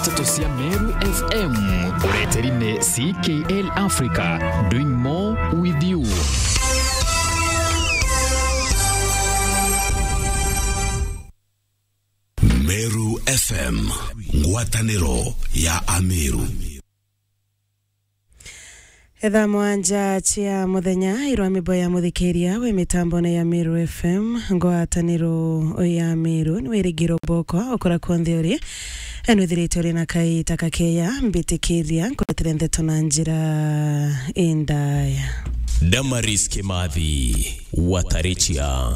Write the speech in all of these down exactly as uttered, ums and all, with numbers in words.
Nteto cia Meru F M, ureteri ni C K L Africa, doing more with you. Meru F M, ngwataniro ya Ameru. Etha mwanja cia muthenya, irwa mibo ya muthikiria wi mitambone ya Meru F M, ngwataniro ya Meru, ni wirigiro bwoko ukura kuonthe uri. Nwithirite uri na kaita kakeya, mbitikiria nkuretire ndeto na njira indaya. Damaris Kimathi, Watarichia.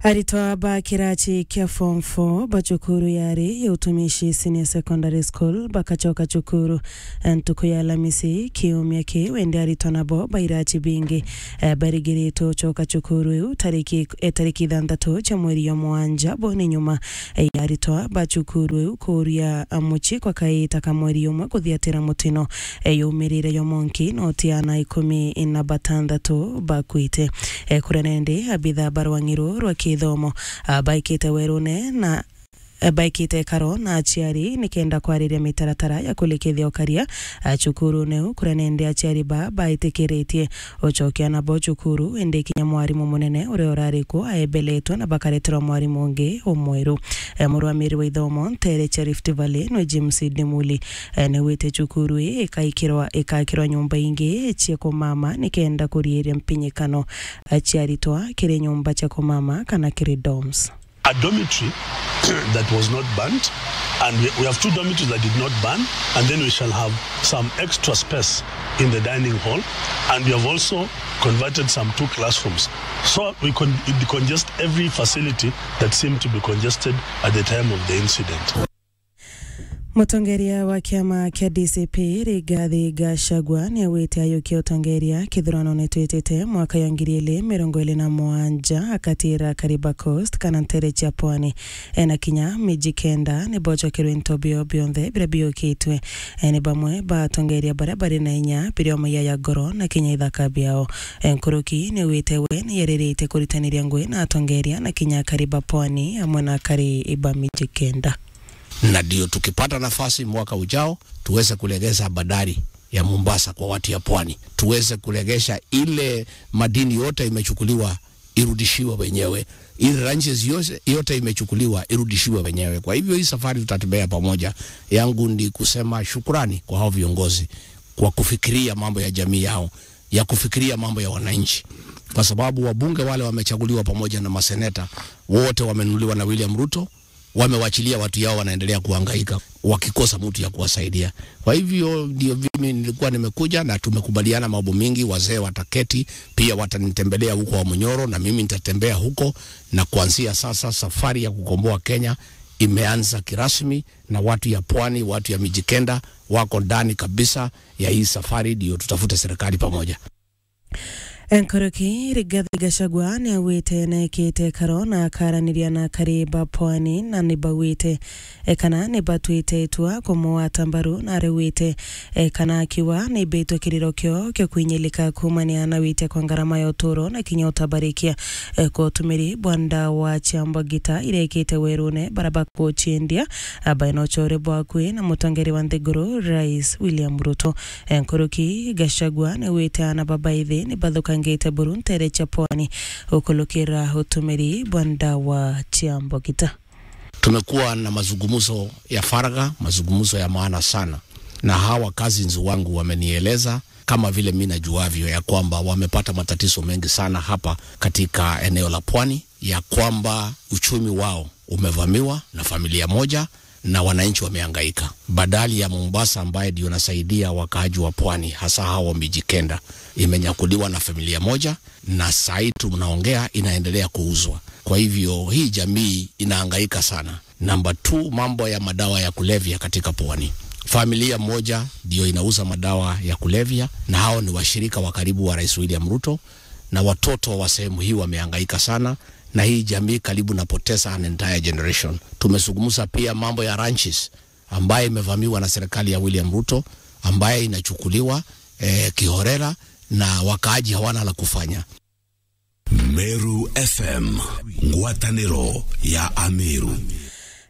Aritwa ba kirachi kia form four ba cukuru yari ya Utumishi Senior Secondary School bakacoka cukuru ntuku ya Alamisi kiumia ki. Wende aritwa nabo ba irachi bingi, eh, barigiritwe ucoka cukuru iu tariki, eh, tariki ithanthatu cia mweri ya mwanja. Bo ni nyuma, eh, ya aritwa ba cukuru iu kuuria, ah, mucii kwa kaita ka mweri umwe kuthiatira mutino, eh, yumirire yo monki, no ti ana ikumi na batanthatu bakwite. Eh, kuria nende abitha ba rwang'i ruu rwa kithomo, ah, baikite werune na, eh, baikite karo na aciari nikenda kwariria mitaratara ya kulikithia ukaria, ah, cukurune uu, kuria nende aciari ba baitikiritie ucokia nabo cukuru, indi kinya mwarimu munene uria urari kuo aebeletwe na bakareterwa mwarimu ungi umweru. Eh, murwamiri wa ithomo ntere cia Rift Valley nwe James Dimuli, eh, niwite cukuru ii ikaikirwa, ikakirwa nyumba ingi cia kumama nikenda kuriiria mpinyikano, eh, cia aritwa kiri nyumba cia kumama kana kiri dorms. A dormitory that was not burnt, and we, we have two dormitories that did not burn, and then we shall have some extra space in the dining hall, and we have also converted some two classrooms. So we con-, we decongest every facility that seemed to be congested at the time of the incident. Mutongeria wa kiama kia D C P, Rigathi Gachagua, niaugite ayukia utongeria kithurano nitwitite mwaka ya ngiri ili mirongo ili na mugwanja akatira Kariba Coast kana ntere cia pwani. Ena kinya miji kenda nibocokerwe into bio bionthe biria biukitwe. Ene bamwe ba atongeria baria bari na inya, biria maiya ya ngoro na kinya ithaka biao. Nkuruki niwite we niyeririte kuritaniria ngui na atongeria na kinya akari ba pwani amwe na akari ba miji kenda. Na ndio tukipata nafasi mwaka ujao, tuweze kulegeza bandari ya Mombasa kwa watu ya pwani. Tuweze kulegesha ile madini yote imechukuliwa, irudishiwe wenyewe. Ile ranches yote, yote imechukuliwa, irudishiwe wenyewe. Kwa hivyo hii safari tutatembea pamoja. Yangu ni kusema shukrani kwa hao viongozi kwa kufikiria mambo ya jamii yao, ya kufikiria mambo ya wananchi. Kwa sababu wabunge wale wamechaguliwa pamoja na maseneta, wote wamenunuliwa na William Ruto, wamewachilia watu yao wanaendelea kuhangaika wakikosa mtu ya kuwasaidia. Kwa hivyo ndio mimi nilikuwa nimekuja na tumekubaliana mambo mingi, wazee wataketi, pia watanitembelea huko wa Munyoro na mimi nitatembea huko, na kuanzia sasa safari ya kukomboa Kenya imeanza kirasmi, na watu ya pwani, watu ya miji kenda wako ndani kabisa ya hii safari, ndio tutafute serikali pamoja. Nkuruki, Rigathi Gachagua niaugite neekite karo na akaraniria na akari ba pwani na nibauite, e, kana nibatwite itua kumugwata mbaru na ariugite, e, kana akiuga nimbitwe kiriro kio kio kwinyilika kuumania na witia kwa ngarama ya uturo na kinya utabarikia, e, kwa utumiri bwa ndawa cia mbagita iria ikite werune baria bakuciendia, a, baina ucore bwakui na mutongeria wa nthiguru Rais William Ruto. Nkuruki, Gachagua niwite ana babaithi nibathukangite buru ntere cia pwani ukulukira utumiri bwa ndawa cia mbogita. Tumekuwa na mazungumzo ya faragha, mazungumzo ya maana sana, na hawa cousins wangu wamenieleza, kama vile mimi najuavyo, ya kwamba wamepata matatizo mengi sana hapa katika eneo la pwani, ya kwamba uchumi wao umevamiwa na familia moja na wananchi wamehangaika. Bandari ya Mombasa ambaye ndio nasaidia wakaaji wa pwani, hasa hao wa miji kenda, imenyakuliwa na familia moja, na saa hii tunaongea inaendelea kuuzwa. Kwa hivyo hii jamii inahangaika sana. Number two, mambo ya madawa ya kulevya katika pwani. Familia moja ndio inauza madawa ya kulevya, na hao ni washirika wa karibu wa Rais William Ruto, na watoto wa sehemu hii wamehangaika sana, na hii jamii karibu napoteza an entire generation. Tumezungumza pia mambo ya ranches ambaye imevamiwa na serikali ya William Ruto, ambaye inachukuliwa, eh, kihorera, na wakaaji hawana la kufanya. Meru F M, ngwataniro ya Ameru.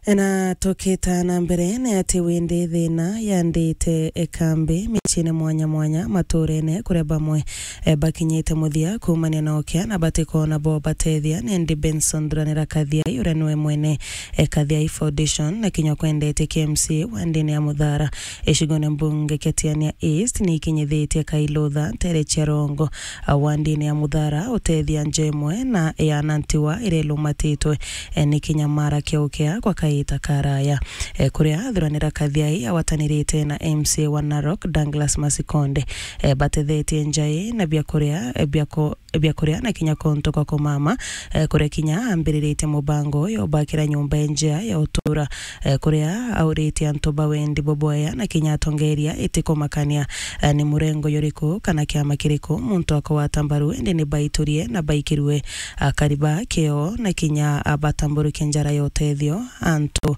Na tukita na mbere, ni ati windi thina yandite ikambi miciine mwanya mwanya maturene, kuria bamwe, eh, bakinyite muthia kuumania na ukia na batikoona bo batethia. Nendi Benson Thuranira Kathiai, uria niwe mwene, eh, Kathiai Foundation, na kinya kwendete K M C A wa ndini ya Muthara, icigone mbunge kia Tiania East, ni ikinyithitie Kailutha ntere cia Rongo, ah, wa ndini ya Muthara, utethia nja imwe na ya Nantiwa iria ilumatitwe, eh, ni kinyamara kiukea kwa kaita karaya. Eh, kuria Thuranira Kathiai agwatanirite na M C A wa Narok, Douglas Masikonde, eh, batethetie nja ii na biakuria, eh, biako-, biakuria na kinya kuntu kwa kumama, eh, kuria kinya ambiriritie mubango uyu ubakira nyumba injea ya utura, eh, kuria auritie antu ba wendi bubwea na kinya atongeria itikumakania, eh, ni murengo juriku kana kiama kiriku muntu akugwata mbaru, indi ni baiturie na baikirue, ah, kariba kio na kinya, ah, batamburuke njara ya utethio antu,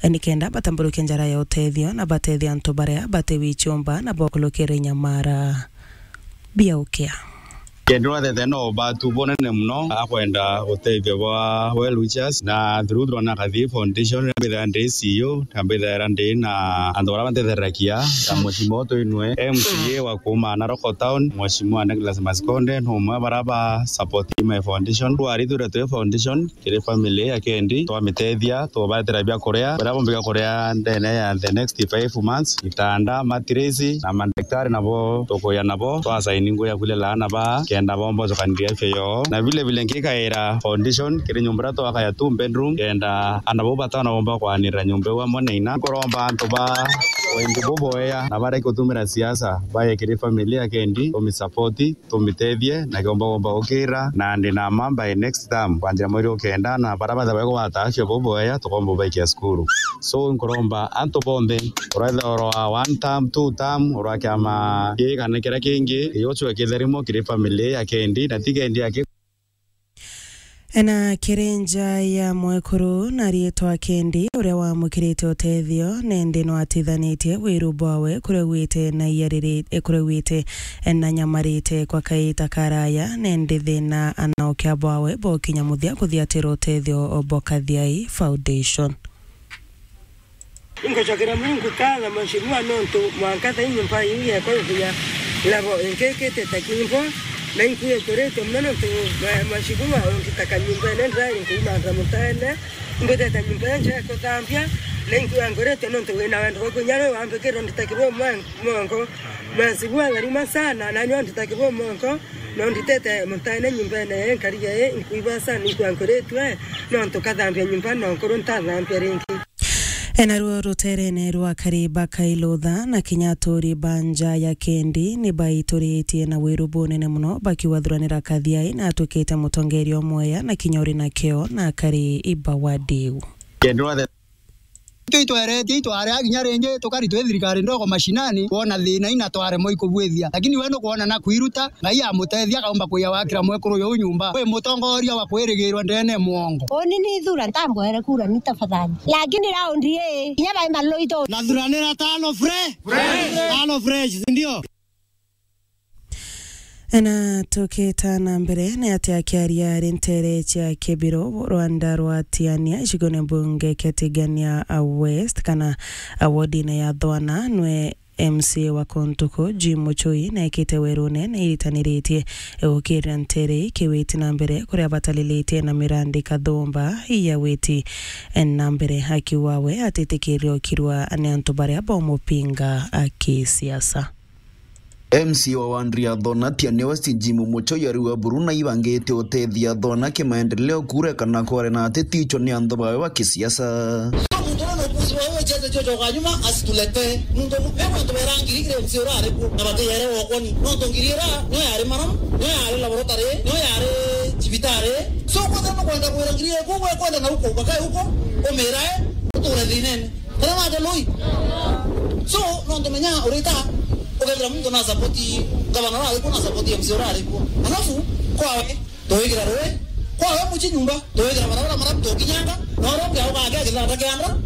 eh, nikenda batamburuke njara ya utethio na batethia antu baria bati wichumba na bokulukire nyamara biaukia. Kenda urathete no batu bunene muno akwenda utethio bwa well wishers, na through Thuranira Kathiai Foundation, mbithaira ndi C E O, na mbithaira ndi na antu baria bantethereragia, ta Mheshimiwa Twinwe, M C A wa kuuma Narok Town, Mheshimiwa Douglas Masikonde, ni umwe baria ba support my foundation. Twarithire twi foundation, kiri family ya Kendi, twamitethia, tubatira biakuria, biria bombi biakuria ndene ya the next five months, itanda, mattress, na mandaktari nabo tukuya nabo, twasaini ngugi ya kwirira aana baa, kenda bomba gucokaniria afya yoo. Na vile vile nkikaira foundation, kiri nyumba iria twaka ya two bedroom, kenda aana bau batano bomba kwanirira nyumba iu amwe na ina. Nkuromba antu ba wendi buboea na bareke gutumira siasa, baye kiri family ya Kendi, tumisapoti, tumitethie na kiomba gomba gukira, na ndi na ma by next term, kwanjira mweri o kenda, na baria bathabae kugwata afya buboea, tukomba ubaikia cukuru. So, nkuromba antu bonthe, uraitha oro wa one term, two term, ura kiama gii kana kiria kingi, gigocua kitharimo kiri family ya Kendi, na ti Kendi aki. Ena kiri nja ya mwekuru na riitwa Kendi, uria wamukirite utethio, nendi no atithanitie wiru bwawe kuria gwite na iyariri-, eh, kuria gwite na nyamarite kwa kaita karaya, nendi thina anokia bwawe bokinya muthia kuthiatira utethio bwa Kathiai Foundation. Ingocokera Murungu nkatho, Mheshimiwa, nontu mwanka thaa ii nyomba iu yeekwa ikinya level ingi ikitite kimbo, na inkuiturite mono nontu, Mheshimiwa, ungitaka nyomba ino ndiraari nkuumantha mutaene, imbitite nyomba injega kuthambia, na inkuangurite nontu wina wendo bwa kunya riu wambikirwe ndita kibo mwa-, mongo. Mheshimiwa, tharima sana, na nyo ndita kibo mongo, no nditite mutaene nyomba ino ye nkari ye inkuiba sana, inkuanguritwe, nontu kathambia nyomba no nkuru ntathambia ringi. Enaruo ruterene rwa Kariba Kailutha na kinya aturi ba nja ya Kendi ni baituritie na wiru bunene mono, bakiuga Thuranira Kathiai na atwikite mutongeria umwea na kinya uri na kio na akari iba wadiu. Kenda itwitweretie itwarea kinya ringi tukari twi thirikari ndogo mashinani, kwona thina ina twaremwa ikubwithia, lakini we nukwona na kwiruta. Ngai amutethia, akaumba kuya wakira mwekuru uyu nyumba. Wi mutongoria wa kwirigirwa ndene mwongo. Uni ni ithura, ntambwere kura ni tafadhali. Lakini raundi ii, kinya bai maloi tu. Na Thuranira tano fre-, tano fresh, si ndio? Na tukita na mbere, ni ati akiaria ari ntere cia Kibiro, rwanda rwa Tiania, icigone mbunge kia Tigania West, kana wodine ya Thwana, nwe M C A wa Kontuku, Jim Muchui, neekite werune na iritaniritie gukirira ntere ikiwiti na mbere, kuria batalilitie na mirandi kathumba ya witi na mbere, akiuga we atitikiria ukirwa ni antu baria bomupinga kisiasa. M C A wa Wandria Thona, Tiania West, Jim Muchui ariuga buru na ibangite utethia Thona kimaendeleo, kurekana kware na ateti icho ni anthu bawe ba kisiasa. Muntu uria nukusi wawe wechete chocho kwa nyuma asituletee. Muntu mu-, emu antu berangiri kire M C A ura ari ku, na batiyere wokoni. Nontu ngiri ira, niyo yari maramu, niyo yari laboratory, niyo yari cibitari. So, kwethira nukwenda kwira ngiri ira, ku we kwenda na uko, bakae uko, umirae, uture thinene. Kana wate lui? So, nontu menya urita, ukethira muntu na support gavana ura ari ku, na support M C A ura ari ku. Alafu, kwawe, tuwigira rui, kwawe muci nyumba, tuwigira barabara mara tukinyanga, na uria ungi auga ake akithanda kianda,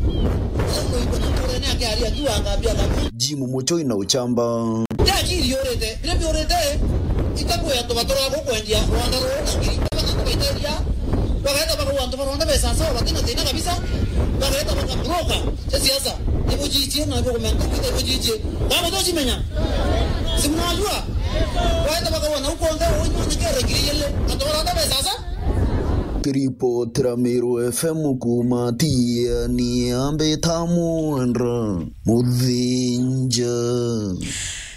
alafu nuigua na nturene ake ari akiwa akambia na Jim Muchui na uchamba. Yakiri yurite, biria biurite, itakuya tuba turago kwendia rwanda ruu na ngiri itano na tugaiteria, Bagaeta bakaua antu baronthe beca sawa, batina thina kabisa. Bagaeta bakabroka cia siasa. Ibujichie na ibukumenta, ibujichie. Baba, tuchimenya. Si mnajua? Baeta bakaua na ukonthe, unywa na kere ngiri ile. Antu baronthe beca sawa. Kiripotera Meru F M kuuma Tiania, mbita Mwenda Muthinja.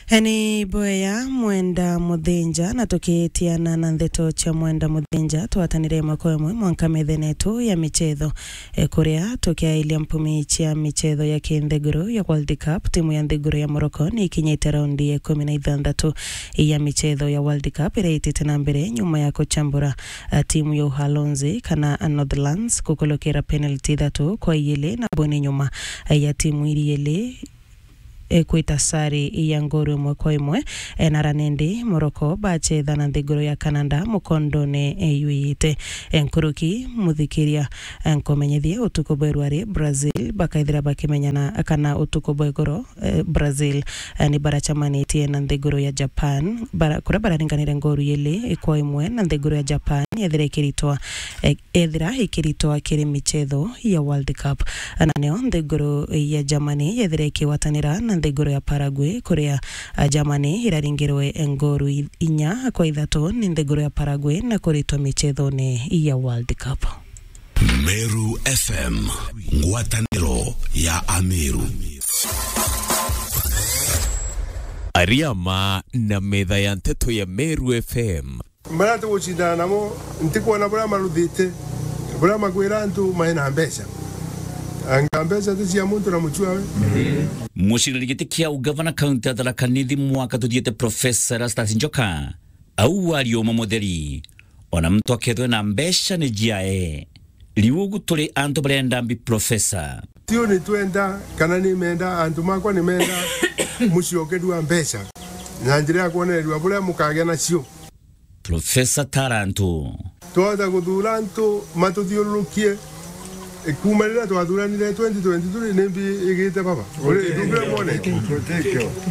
Eni boya Mwenda Muthinja, na tukitiana na ndeto cia Mwenda Muthinja, twatanire mwaka umwe mwanka methenetu ya michetho, e, kuria tukiailia mpumi cia michetho ya kinthiguru ya World Cup, timu ya nthiguru ya Morocco ni ikinyite raundi ya ikumi na ithanthatu ya michetho ya World Cup iria itite na mbere nyuma ya kuchambura, a, timu ya Uholanzi kana, a, Netherlands kukulukira penalty ithatu kwa iili, na buni nyuma, a, ya timu iri iili, e, kwita sare ya ngooru imwe kwa imwe, e, na ranindi Morocco bachetha na nthiguru ya Canada mukondone, e, yuite. E, nkuruki muthikiria, e, nkumenyithia utuku bwa irua ri Brazil bakaithira bakimenyana kana utuku bwa igoro, e, Brazil, e, ni barachamanitie na nthiguru ya Japan, bara-, kuria bararinganire ngooru iili kwa imwe, na nthiguru ya Japan yethira ikiritwa, e, ethira ikiritwa kiri michetho ya World Cup. Na nio nthiguru ya Germany yethira ikigwatanira na nthiguru ya Paraguay, kuria, a, Germany iraringirwe ngooru i-, inya kwa ithatu ni nthiguru ya Paraguay na kuritwa michethone ya World Cup. Meru F M, ngwataniro ya Ameru. Ariama na metha ya nteto ya Meru F M. Baria tugucindana namo, ntikwona buria maruthite, buria makwira antu maina mbeca. Anga mbeca ti cia muntu na muchwawe? Muciriri giti kia ugavana kaunti ya Tharaka Nithi mwaka tuthiite, Profesa Erastus Njoka, au wari uma mutheri, ona muntu akethwe na mbeca ni ciae. Riu ugu turi antu barenda mbi, Profesa. Tiu ni twenda, kana ni menda, antu makwa ni menda muciokerua mbeca na njira ya kwonererua buria mukagia nacio. Profesa Tarantu. Twahota kuthura antu matuthiururukie, e, kuuma riria twathuranire twenty twenty-three, ni mbi igite baba. Uri, ndubire mwone.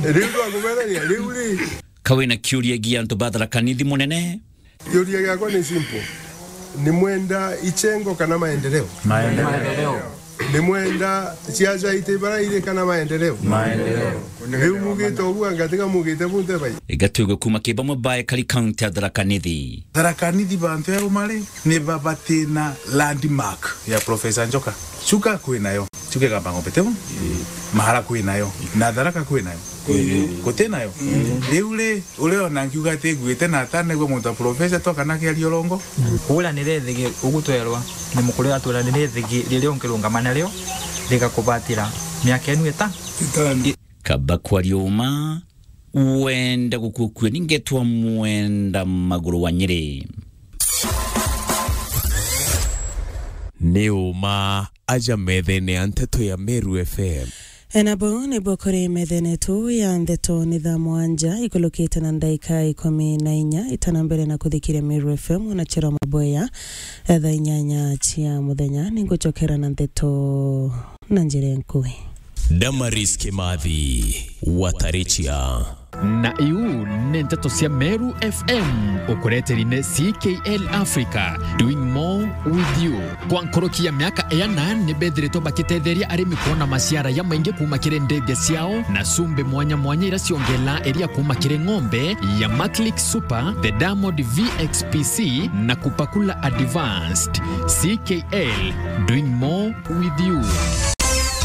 Riu twakumerania, riu ri. Ka wina kiuria gia antu ba Tharaka Nithi munene? Kiuria giakwa ni simple. Ni mwenda ichengo kana maendeleo? Maendeleo. Ni mwenda siasa iti bara iri kana maendeleo? Maendeleo. Riu mugite uguo, anga tiga mugite bunte bai? Igatuigwe kuuma ki bamwe ba ekari kaunti ya Tharaka Nithi. Tharaka Nithi bantu eruma ri, ni babatina landmark ya Profesa Njoka. Chuka kwinayo. Chuka Igamba Ng'ombe, teu? Mahara kwinayo. Na Tharaka kwinayo. Gutinayo. Riu ri, uria ona nkiuga ati nguite na atanegua muntu wa Profesa to kana kiaria urongo. Kuuranira ithigi ugutwerwa ni mukuru, aturanire ithigi riria ungirungama nario rigakubatira miaka inu ita. Itano. Kaba kwaria uma, wenda gukukua ni ngetwa Mwenda Maguru wa Nyeri. Ni uma aja methene ya nteto ya Meru F M. Enabo nibo kuri methene tu ya ndeto ni thaa mwanja ikulukite na ndaika ikumi na inya itana mbere na kuthikiria Meru F M na Chero Maboya, thaa inyanya cia muthenya. Ninguchokera na ndeto na njira nkui. Damaris Kimathi, Watarichia. Na iu ni nteto cia Meru F M, ukureteri ni C K L Africa, doing more with you. Kwa nkuruki ya miaka iana, ni bethiritwe bakitetheria arimi kwona maciara ya maingi kuuma kiri ndithia ciao na cumbi mwanya mwanya ira ciongelaa iria kuuma kiri ng'ombe ya Maclick Super, the Diamond V X P C na Kupakula Advanced. C K L, doing more with you.